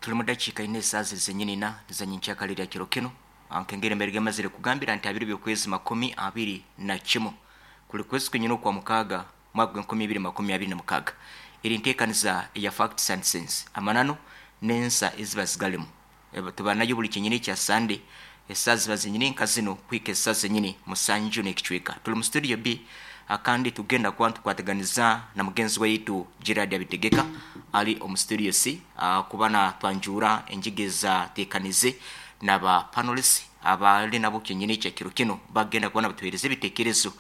Tuli mu dakiika ina esaaha ziri zenyini ina za nyenkyakara erya kiro kinu. Nkengeri mbere gemazire kugambira nti abiri by'okwezi 21, kuli kwezi kwenyini okwa mukaaga, mwaka gw'e 2026. Eri nteekaniza eya Facts and Sense, amananu n'ensa eziba zigalimu. Tuba nayo buli kyenyini ekya Sande, esaaha ziba zenyini nka zinu kuhika esaaha zenyini 7 n'ekicweka. Tuli mu studio B, kandi tugenda kuba nitukwataganiza na mugenzi waitu Gerard Abitegeka ali omu studio C, kuba natwanjura enjiga ezateekanize n'aba panelists abali nabo kyenyini ekya kiro kinu, bagenda kuba nabatuheereza ebitekerezo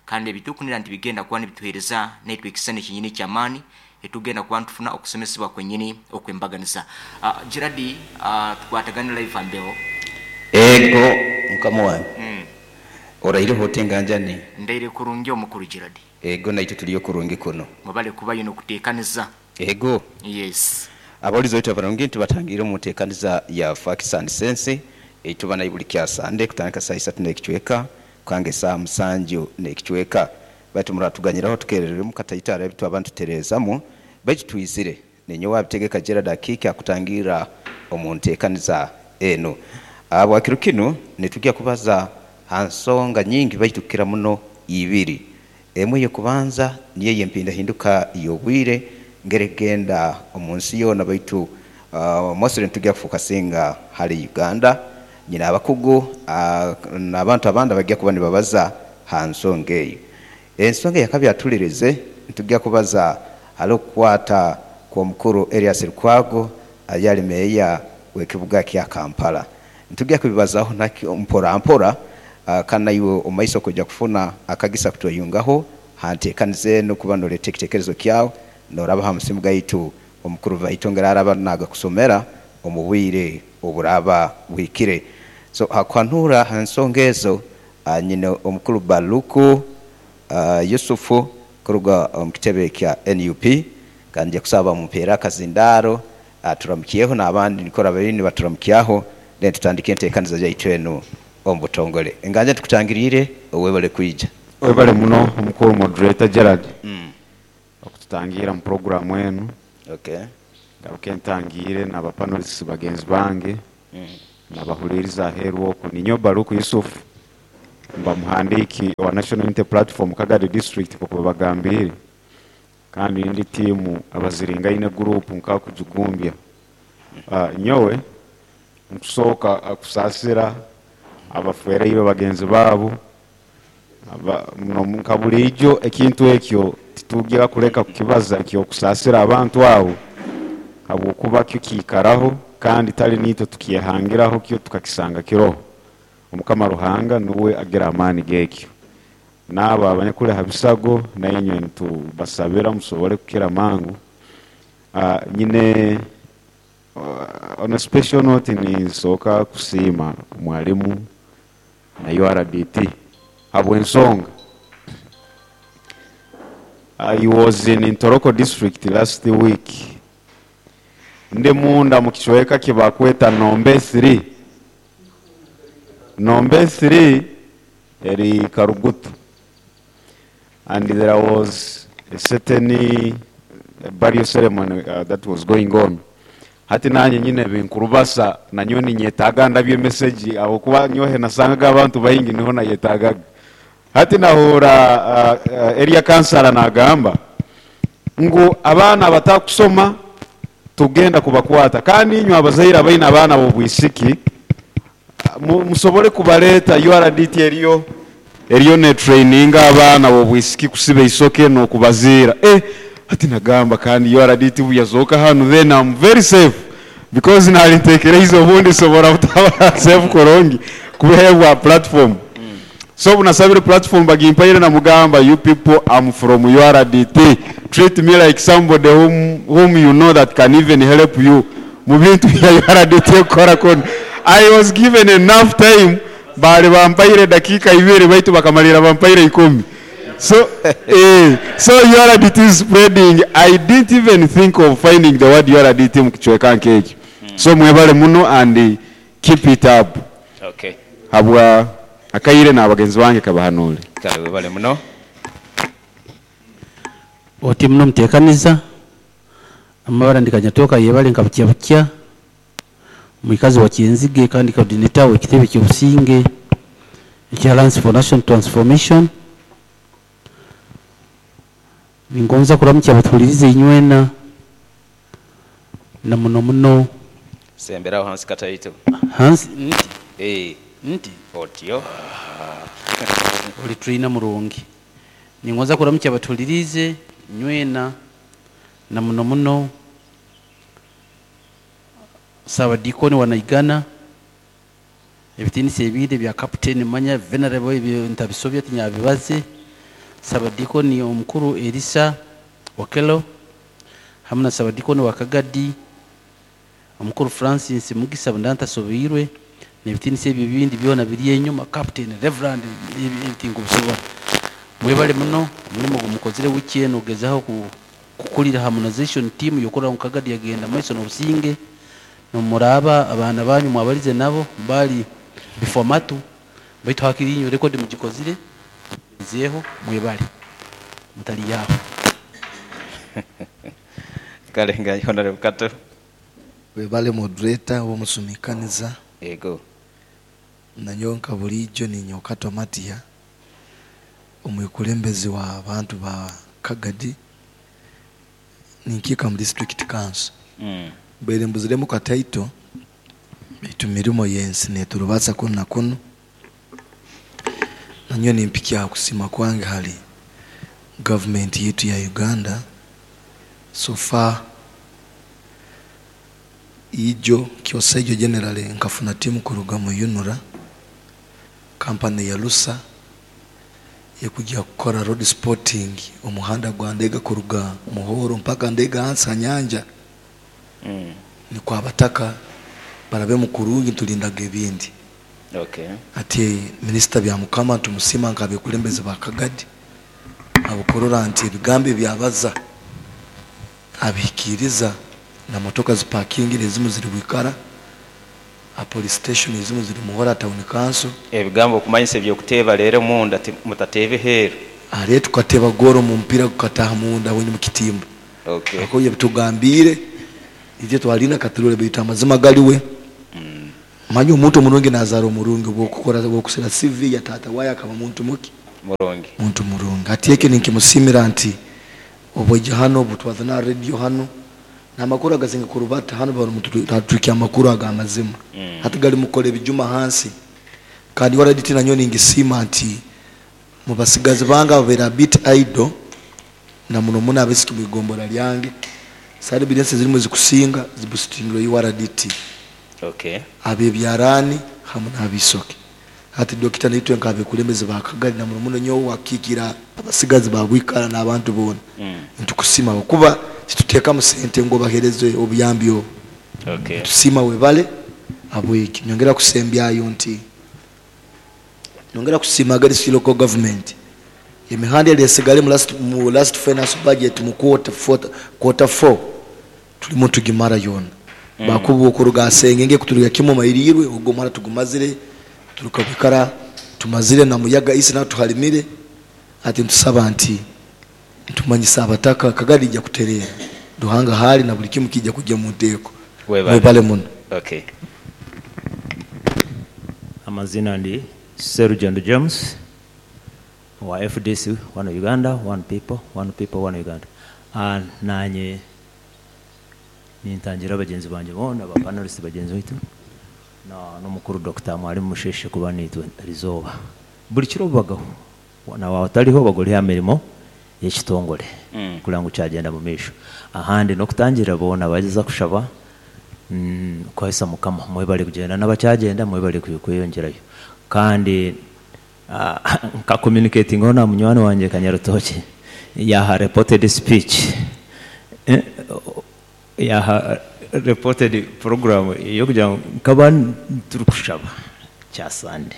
kandi ebitukunira nti bigenda kuba nibituheereza naitwe ekisani kyenyini eky'amaani etugenda kuba nitufuna okusomesebwa kwenyini okwembaganiza. Gerard, tukwatagane live ambeho. Ego, mukama wange. Oraireho ota, enganjani? Ndaire kurungi, omukuru Gerard. Ego, naitwe tuliyo kurungi kuno. Mwebale kubayo n'okuteekaniza. Ego. Yes. Abawulizi baitu abarungi, tubatangirire omu nteekaniza ya Facts and Sense eituba nayo buli kya Sande kutandika saaha 3 n'ekicweka kukanga esaaha 7 n'ekicweka. Baitu muratuganyiraho tukerereremu kataito hariho ebitwaba nitutereezamu, baitu twizire. Ninyowe Abitegeka Gerald Akiiki akutangirra omu nteekaniza enu. Habwa kiro kinu nitugya kubaza ha nsonga nyingi baitu kukira muno ibiri. Emwe ey'okubanza niyo ey'empindahinduka y'obwire ngeri ekugenda omu nsi yoona, baitu mostly nitugya kufokasinga hali Uganda. Nyine abakugu n'abantu abandi abagya kuba nibabaza ha nsonga eyo. Ensonga eyakabiri atulirize, nitugya kubaza hali okukwata kw'omukuru Erias Lukwago ayali meeya w'ekibuga kya Kampala. Nitugya kubibazaho nakyo mpora mpora, kandi naiwe omu maiso okwija kufuna akagisa kutweyungaho ha nteekaniza enu kuba noleeta ekiteekerezo kyawe noraba ha musimu gaitu omukuru baitu ngeri araba nagakusomera omu bwire oburaba buhikire. So hakuhanura ha nsonga ezo, nyine omukuru Baluku Yusufu kuruga omu kitebe kya NUP, kandi nja kusaba bamumpeere akazindaaro aturamukyeho n'abandi nikora babiri nibaturamukyaho, then tutandike enteekaniza yaitu enu omu butongole. Enganja tukutangiriire, webale kwija. Webale muno, omukuru moderator Gerald, okututangiira mu puroguramu enu. Ngaruke ntangiire n'aba panelists bagenzi bange n'abahuliiriza aheeru oku. Ninyowe Baluku Yusuf, mba muhandiiki owa National Unity Platform Kagadi District nk'oku babagambiire, kandi ndi tiimu abaziringaine group nkakugigumbya. Nyowe nkusooka kusaasira abafwereirwe bagenzi baabo nka buriijo ekintu ekyo titugira kuleka kukibaza eky'okusaasira abantu abo habwokuba kyo kiikaraho kandi tali niitwe tukyehangiraho, kyo tukakisanga kiroho. Omukama Ruhanga nuwe agira amaani g'ekyo. N'abo abanyakuli ha bisago nainywe nitubasabira musobole kukira mangu. Nyine on a special note ninsooka kusiima mwalimu na URDT habw'ensonga I was in Ntoroko District last week, ndi munda mu kicweka kibakweta Nombe 3. Nombe 3 eri Karugutu, and there was a certain burial ceremony that was going on. Hati nanye nyine binkurubasa, nanyowe ninyetaaga ndabye message ahabwokuba nyowe nasangaga abantu baingi niho nayetaagaga. Hati nahuura area councillor nagamba ngu abaana abatakusoma tugenda kubakwata, kandi inywe abazaire abaine abaana b'obwisiki musobole kubaleeta. URDT eriyo netraininga abaana b'obwisiki kusiba eisoke n'okubaziira. Hati nagamba kandi URDT buyazooka hanu, then I'm very safe, because nali ntekereize obundi nsobora butaba safe kurungi kuheebwa platform. So obu nasabire platform bagimpaire, namugamba, "You people, I'm from URDT. Treat me like somebody whom you know that can even help you mu bintu bya URDT ekukora kuno." I was given enough time, bali bampaire dakiika 2 baitu bakamalira bampaire 10. So URDT is spreading. I didn't even think of finding the word URDT mu kicweka nk'ekyo. So mwebale muno and keep it up. Habwa akaire n'abagenzi bange kabahanule. Kale, webale muno. Oti muno muteekaniza amabara ndikanyatoka yebale nka bukya bukya. Mwikazi wa Kyenzige kandi coordinator w'ekitebe ky'obusinge ekya Alliance for National Transformation. Ningonza kuramukya abatuhulirize inywena na muno muno. Semberaho hansi kataito. Hansi nti. Eh. Nti. Otyo. Oli trainer murungi. Ningonza kuramukya abatuhulirize inywena na muno muno Sabadikoni wa Naigana, ebitinisa ebindi bya Captain Manya Venerable ebyo ntabisobya tinyabibaze, Sabadikoni omukuru Elisa Okelo hamwe na Sabadikoni wa Kagadi omukuru Francis Mugisa bundantasobirwe, n'ebitinisa ebyo bindi byona biri enyuma, Captain Reverend ebitinga obusobora. Mwebale muno omulimo gumukozire wiki eno ogezaho kukulira harmonization team yokora mu Kagadi yagenda maiso n'obusinge. Nomuraba abaana banyu mwabalize nabo bali bifomatu baitu hakiri inyo record mugikozire zeho mwebale mutali yaho. Kale nga Honorable Kato. Webale moderator womusumikaniza. Ego. Nanyonka bulijjo ninyo Kato Matia omwikulembezi wa abantu ba Kagadi ninkika mu district council. Bere mbuziremu kataito bitu mirimo yensi neturubatsa kuno na kuno. Nanyo nimpikia kusima kwange hali government yetu ya Uganda so far ijo kyosejo generally nkafuna timu kuruga mu Unura company ya Lusa yekujya kukora road sporting omuhanda gwa Ndega kuruga Muhoro mpaka Ndega hansi nyanja. Ni kwa bataka barabe mukurungi tulindaga ebindi. Okay. Ati minister bya mukama tumusima nkabekulembeze ba Kagadi abukorora nti ebigambo byabaza abikiriza na motoka ziparking ezimu ziri bwikara a police station ezimu ziri Muhora town council. Ebigambo kumanyisa ebyo kuteba rero munda mutatebe hero ale tukateba goro mu mpira kukataha munda wenye mukitimba. Okay. Akoye bitugambire ije twalina katurole bita amazima galiwe. Manyi omuntu omurungi nazara omurungi bwokukora bwokusera CV ya tata waye akaba muntu muki murungi muntu murungi. Ati yeke ninkimusimira nti obweje hano butwazana radio hano namakuru agazinga kurubata hano bari mututukia amakuru agamazima. Hati gali mukole bijuma hansi kandi waraditi nanyo ningisima nti mubasigazi banga babera bit idol na muno muna abesiki mwigombora lyange sari bidense zirimu zikusinga zibustingiro URDT. Okay. Abe byarani hamwe nabisoke. Hati dokita nitwe nkabe kulemeze bakagali na muno nyo wakikira abasigazi babwikara n'abantu bona. Ntukusima kuba kituteka mu sente ngo bahereze obuyambi. Okay. Tusima webale abwiki nyongera kusembyayo nti nyongera kusima gali local government. Emihanda elesigale mu last finance budget mu quarter 4 tuli tugimara yona. Bakubu okuruga sengenge kuturuga kimo mairirwe ubwo mara tugumazire turukabikara tumazire na muyaga isi na tuhalimire. Ati ntusaba nti ntumanyisa abataka Kagadi ijya kuterera duhanga hali na buli kimu kijya kujya mu nteko. Webale muno. Okay. Amazina ndi Sergeant James wa FDC, one Uganda, one people, one people, one Uganda. Nanye nintangira bagenzi banje bona ba panelists bagenzi bitu na n'umukuru Dr. Mwalimu Musheshe kuba nitwe rizoba buli kiro bagaho na wataliho bagoli ya mirimo y'ekitongole kugira ngo cyagenda mu misho ahandi no kutangira bona bageza kushaba kwahisa mukama mwebale kugenda n'abacyagenda mwebale kwiyongerayo kandi nka communicating ona munywani wanje Kanyarutoki yaha reported speech yaha reported program yo kugira ngo kaba turi kushaba cya Sunday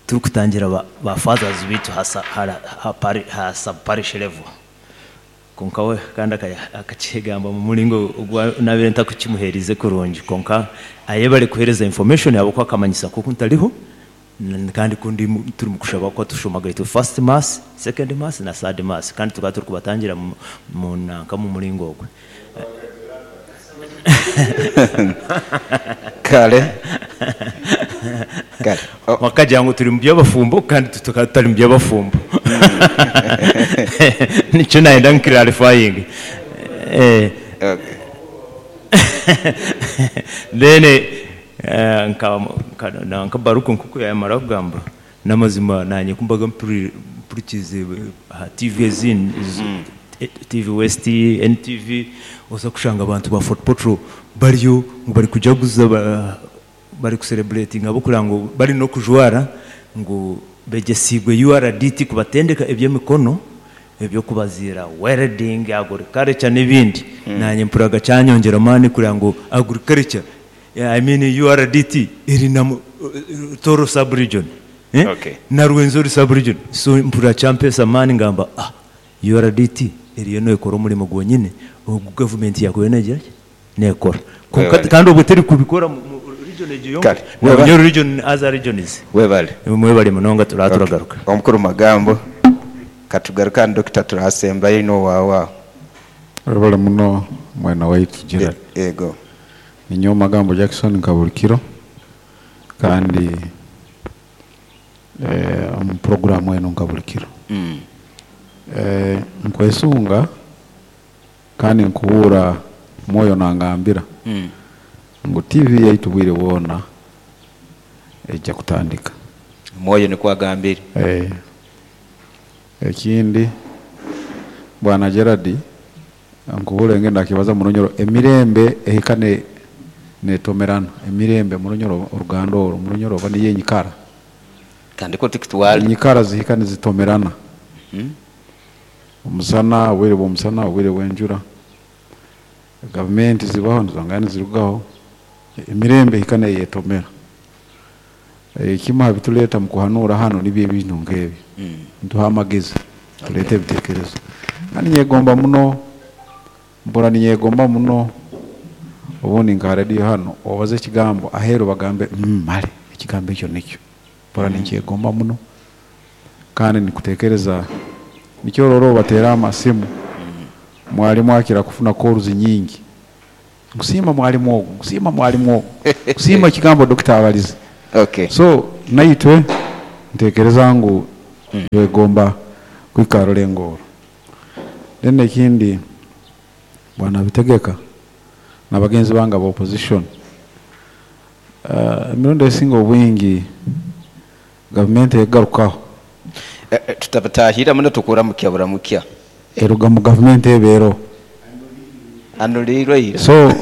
turi kutangira ba fathers bitu hasa ha sub parish level konka we kandi akakigamba mu mulingo nabire ntakukimuherize kurungi konka ayebale kuhereza information yabo kwakamanyisa kuko ntaliho kandi kundi turi mu kushaba ko tushomaga itu first mass, second mass na third mass kandi tukaba turi kubatangira mu nanka mu mulingo ogwe. Kale kale. Oh, Wakagira ngu turi mu by'abafumbo kandi tukaba tutari mu by'abafumbo, nicyo nayenda nkirarifayingi. Then nka Baruku nkuko yamara kugamba n'amazima, nanye kumbaga mpurikize aha TV ezindi, TV West, NTV, oza kushanga abantu ba Fort Portal bariyo ngu bari kujaguza, bari kucelebrating abo kugira ngu bari no kujwara ngu begesigwe URDT kubatendeka eby'emikono, ebyokubazira, welding, agriculture n'ebindi. Nanye mpuraga cyanyongera amani kugira ngo agriculture, yeah, I mean URDT iri na Toro sub region, eh? Na Rwenzori sub region. So mpura champesa amani ngamba URDT eriyo nekora omurimo gwonyine ogu gavumenti yakoyo negira ki? Nekora. Konka Webale. Kandi obwo teri kubikora mu region egyo yonka. Kale, webale. Bunyoro region, other regions. Webale. Mwebale munonga, turagaruka. Omukuru magambo katugaruka ni Dokita, turasembayo ino wawa. Webale muno mwena waitu Gerard. Ego. Ninyowe Magambo Jackson nkabulikiro kandi omu programu eno nkabulikiro. Nkwesunga kandi nkuhura mwoyo nangambira ngu TV yaitu bwire bwona ejja kutandika. Mwoyo nikwo agambire. Ekindi bwana Gerard, nkuhura engenda akibaza murunyoro emirembe ehikane netomerana emirembe murunyoro oruganda oro murunyoro oba niyo enyikara kandi ko tikitwale enyikara zihikane zitomerana. Omusana, obwire bw'omusana, obwire bw'enjura, gavumenti zibaho nizongana nizirugaho, emirembe ehikane yetomera. Ekimu ha bituleeta mu kuhanuura hano nibyo ebintu nk'ebyo, ntuha amagezi, tuleeta ebiteekerezo. Kandi nyegomba muno, mbura ninyegomba muno obundi nka rediyo hano obaze ekigambo aheeru bagambe, male ekigambo ekyo nikyo mbura ninkyegomba muno." Kandi nikutekereza nikyo roro obateera amasimu, mwalimu akira kufuna calls nyingi, nkusiima mwalimu ogu, nkusiima mwalimu ogu, nkusiima ekigambo dokita abalize. So naitwe ntekereza ngu twegomba kwikara orulengo orwo. Then ekindi bwana Bitegeka n'abagenzi bange aba opposition, emirundi esinga obwingi gavumenti egarukaho. Tutabatahira muno, tukuramukya buramukya. Eruga mu gavumenti ebeero anulirwe ira. So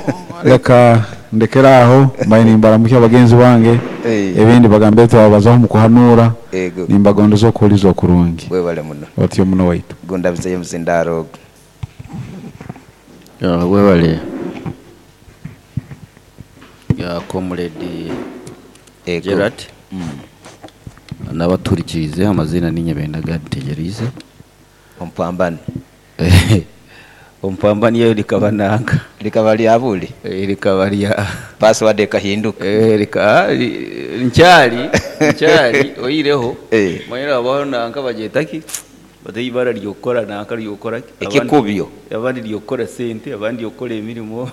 reka ndekera aho, mbaye nimbaramukya bagenzi bange. Ebindi bagambe twabazaho mu kuhanura. Ego. Nimbagondeza okuhuliza okurungi. Webale muno. Otyo muno waitu. Gondabizeyo muzindaro. Ya, webale ya comrade Gerard n'abaturikirize, amazina ni Nyabenda Tegerize. Ompambane. Ompambani yo likaba nanga likaba lyabuli. Likaba lya password ekahinduka. Lika nkyali nkyali oyireho. Mwera abaho nanga bajetaki bate ibara lyokora nanga lyokora Ekikubyo. Abandi lyokora sente, abandi lyokora emirimo.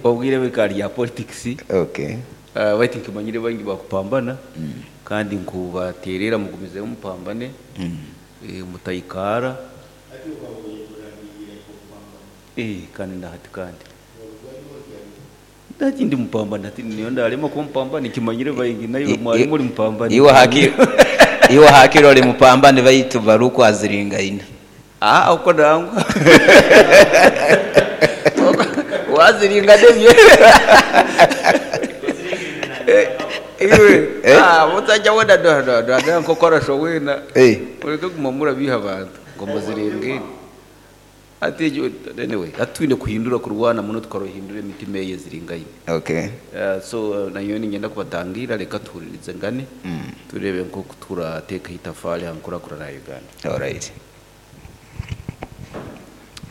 Obwire bika lya politics. Bati nkimanyire bangi bakupambana kandi nkubaterera mugumize mupambane. Mutayikara. Kandi ndahati kandi ndati ndi mupambana ati niyo ndarema kumpambana ikimanyire bayingi nayo mwari muri mupambana. Iwe haki iwe hakiro oli mupambane baitu baruko aziringaina. Uko nangwa waziringa devye. Iwe mutajya wona do do do do nkokora showena. Ureke guma murabiha abantu ngo muzirengere. Ati anyway atwine kuhindura kurwana muno tukarohindura emitima ye ziringaine. So nayo ningenda kubatangira reka tuhuririze ngane turebe nko turateka itafari hankura kura na Uganda. All right.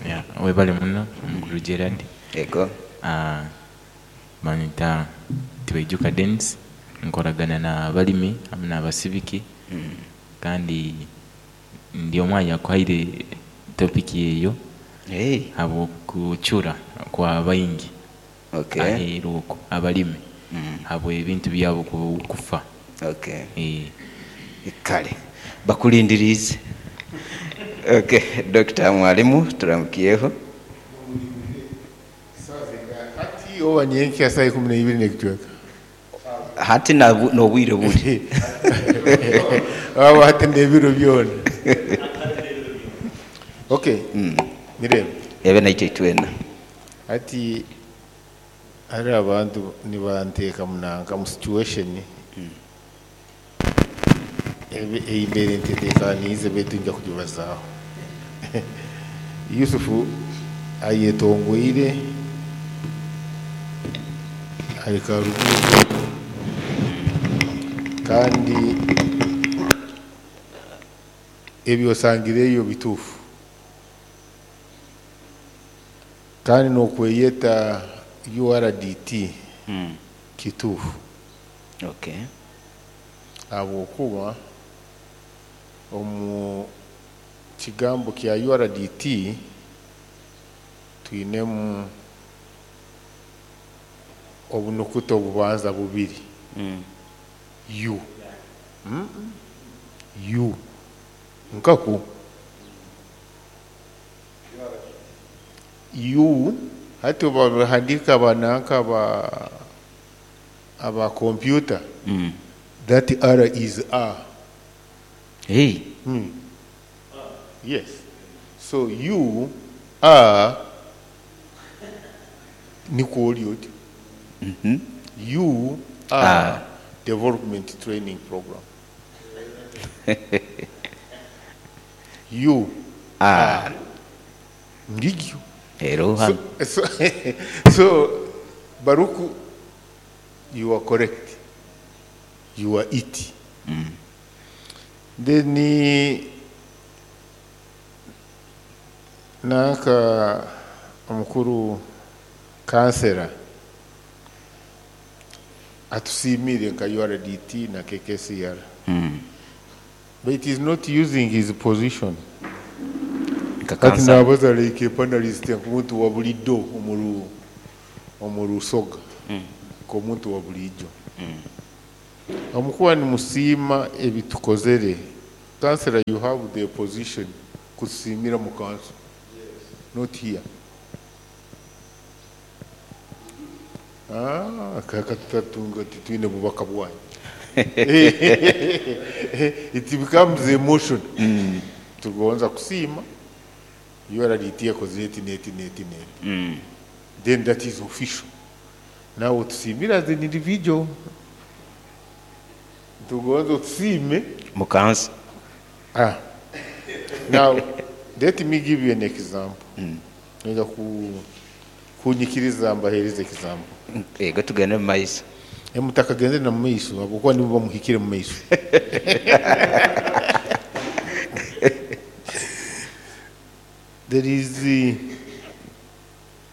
Yeah, webale muno mukuru Gerard. Ego. Banyita Tibaijuka Dennis, nkoragana na balimi hamwe n'abasibiki. Kandi ndi omwanya kwaire topic eyo. Habwo kuchura kwa baingi. Okay. Aheeru okwo abalimi habwe ebintu byabo kufa. Okay. Eh. Kale bakulindiriize. Okay, Dr. Mwalimu, turamukyeho. Hati oba nyenkya saa 12 n'ekicweka. Hati n'obwire buli. Aba hati n'ebiro byona. Okay. Mirembe. Ebe naitwe itwena. Hati hari abantu nibanteeka munanka mu situation eyimbeere nteteekaniize baitu nja kugibazaaho. Yusufu ayetongoire ari Karugutu kandi ebyosangireyo bituufu, kandi n'okweyeta URDT kituufu. Okay. Habwokuba omu kigambo kya URDT twinemu obunukuta obubanza bubiri. U. U. Nkaku. U hati bahandika bananka aba computer. That R is A. Hey. Yes. So U R niko oli otyo. U R Ah. Development Training Program. U R ngigyo. Ero hano. So Baruku, you are correct. You are it. Then nanka omukuru kansera atusiimire nka URDT na KKCR. But it is not using his position. Nka Kati kansala. nabaza like a panelist nk'omuntu wa bulijjo omu Rusoga. Nk'omuntu wa bulijjo. Omukuba nimusiima ebitukozere. Kansela, you have the position kusiimira mu council. Not here. Ah, kaka tutatunga titwine bubaka bwanyu. It becomes emotion. Tugonza kusiima URDT yakoze eti neti neti neti. Then that is official. Now tusiimira as an individual. Tugonza tusiime Mu council. Ah. Now, let me give you an example. Nja kunyikiriza mbahereze example. Ego tugende mu maiso. Mutakagenze na mu maiso habwokuba nibo bamuhikire mu maiso. There is